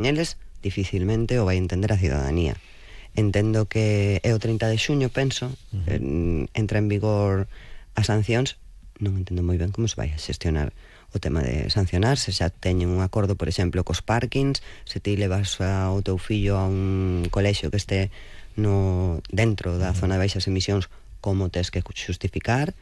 Eles dificilmente o vai entender a cidadanía. Entendo que é o 30 de xuño, penso, entra en vigor as sancións. Non entendo moi ben como se vai a xestionar o tema de sancionar, se xa teñen un acordo, por exemplo, cos parkings, se ti levas ao teu fillo a un colexio que este dentro da zona de baixas emisións, como tes que justificar.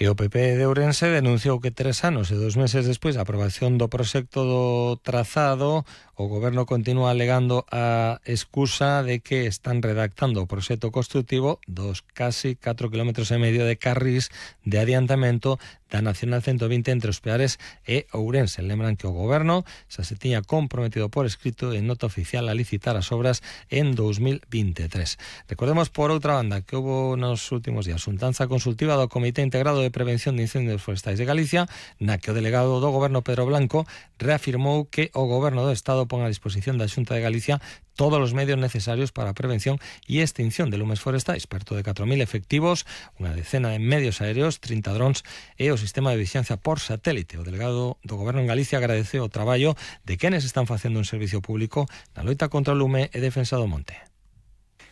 E o PP de Ourense denunciou que 3 anos e 2 meses despois da aprobación do proxecto do trazado, o Goberno continúa alegando a excusa de que están redactando o proxecto construtivo dos casi 4,5 km de carrís de adiantamento da Nacional 120 entre os Peares e Ourense. Lembran que o Goberno xa se tiña comprometido por escrito en nota oficial a licitar as obras en 2023. Recordemos, por outra banda, que houve nos últimos días xuntanza consultiva do Comité Integrado de Prevención de Incendios Forestais de Galicia, na que o delegado do Goberno, Pedro Blanco, reafirmou que o Goberno do Estado pon a disposición da Xunta de Galicia todos os medios necesarios para a prevención e extinción de lumes forestais, perto de 4.000 efectivos, unha decena de medios aéreos, 30 drons e o sistema de vigilancia por satélite. O delegado do Goberno en Galicia agradeceu o traballo de quenes están facendo un servicio público na loita contra o lume e defensa do monte.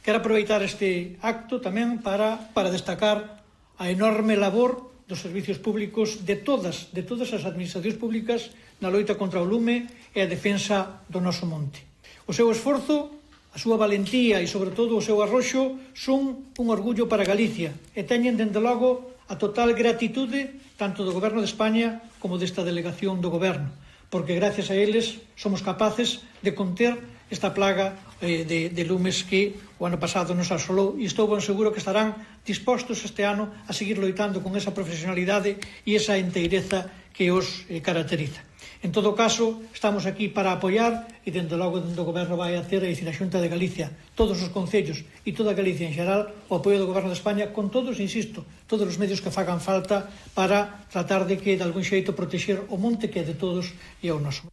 Quero aproveitar este acto tamén para destacar a enorme labor dos servicios públicos de todas as administracións públicas na loita contra o lume e a defensa do noso monte. O seu esforzo, a súa valentía e, sobre todo, o seu arroxo son un orgullo para Galicia e teñen, dende logo, a total gratitude tanto do Goberno de España como desta delegación do Goberno, porque gracias a eles somos capaces de conter esta plaga de lumes que o ano pasado nos asolou, e estou ben seguro que estarán dispostos este ano a seguir loitando con esa profesionalidade e esa enteireza que os caracteriza. En todo caso, estamos aquí para apoiar e, dende logo, dentro do Goberno vai a ter, a Xunta de Galicia, todos os concellos e toda Galicia en xeral, o apoio do Goberno de España con todos, insisto, todos os medios que fagan falta para tratar de que, de algún xeito, protexer o monte que é de todos e é o noso.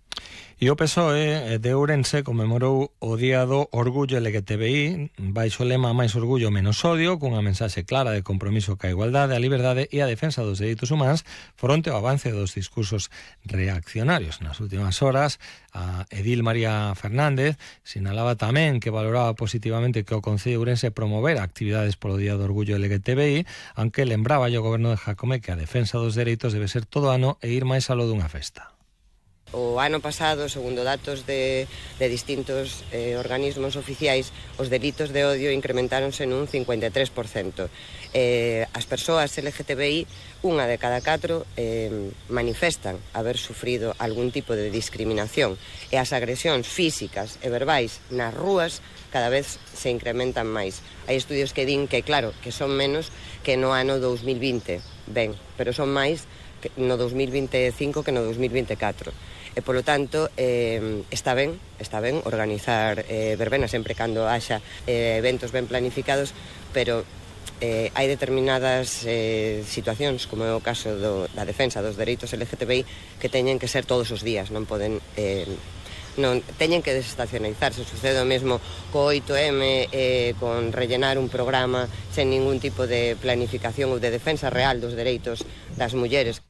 E o PSOE de Ourense conmemorou o Día do Orgullo LGTBI baixo o lema Máis Orgullo, Menos Odio, cunha mensaxe clara de compromiso ca igualdade, a liberdade e a defensa dos dereitos humanos fronte ao avance dos discursos reaccionarios. Nas últimas horas, a edil María Fernández sinalaba tamén que valoraba positivamente que o Concello de Ourense promovera actividades polo Día do Orgullo LGTBI, aunque lembraba o Goberno de Jacome que a defensa dos dereitos debe ser todo ano e ir máis aló dunha festa. O ano pasado, segundo datos de distintos organismos oficiais, os delitos de odio incrementáronse nun 53%. As persoas LGTBI, unha de cada 4, manifestan haber sufrido algún tipo de discriminación, e as agresións físicas e verbais nas rúas cada vez se incrementan máis. Hai estudios que din que, claro, que son menos que no ano 2020, ben, pero son máis no 2025 que no 2024. E, polo tanto, está ben organizar verbenas sempre cando haxa eventos ben planificados, pero hai determinadas situacións, como é o caso da defensa dos dereitos LGTBI, que teñen que ser todos os días, non poden... non teñen que desestacionalizarse. Sucede o mesmo co 8M, con rellenar un programa sen ningún tipo de planificación ou de defensa real dos dereitos das mulleres.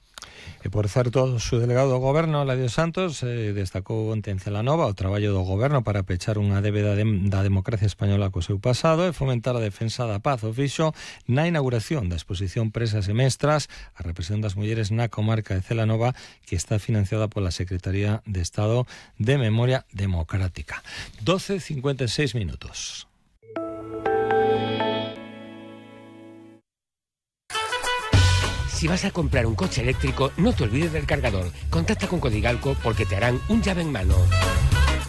E, por certo, o subdelegado do Goberno, Ladio Santos, destacou onte en Celanova o traballo do Goberno para pechar unha débeda da democracia española co seu pasado e fomentar a defensa da paz. O fixo na inauguración da exposición Presas e Mestras, a represión das mulleres na comarca de Celanova, que está financiada pola Secretaría de Estado de Memoria Democrática. 12:56 minutos. Si vas a comprar un coche eléctrico, no te olvides del cargador. Contacta con Codigalco porque te harán un llave en mano.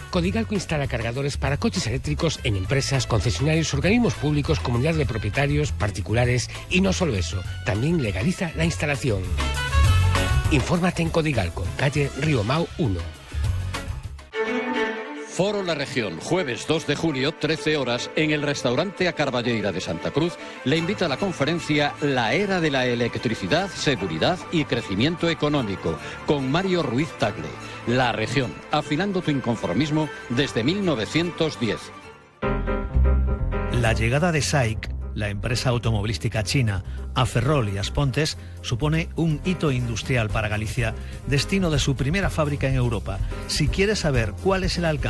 Codigalco instala cargadores para coches eléctricos en empresas, concesionarios, organismos públicos, comunidades de propietarios, particulares y no solo eso, también legaliza la instalación. Infórmate en Codigalco, calle Río Mau 1. Foro La Región, jueves 2 de julio, 13 horas, en el restaurante A Carballeira de Santa Cruz, le invita a la conferencia La Era de la Electricidad, Seguridad y Crecimiento Económico, con Mario Ruiz Tagle. La Región, afilando tu inconformismo desde 1910. La llegada de SAIC, la empresa automovilística china a Ferrol y Aspontes supone un hito industrial para Galicia, destino de su primera fábrica en Europa. Si quieres saber cuál es el alcance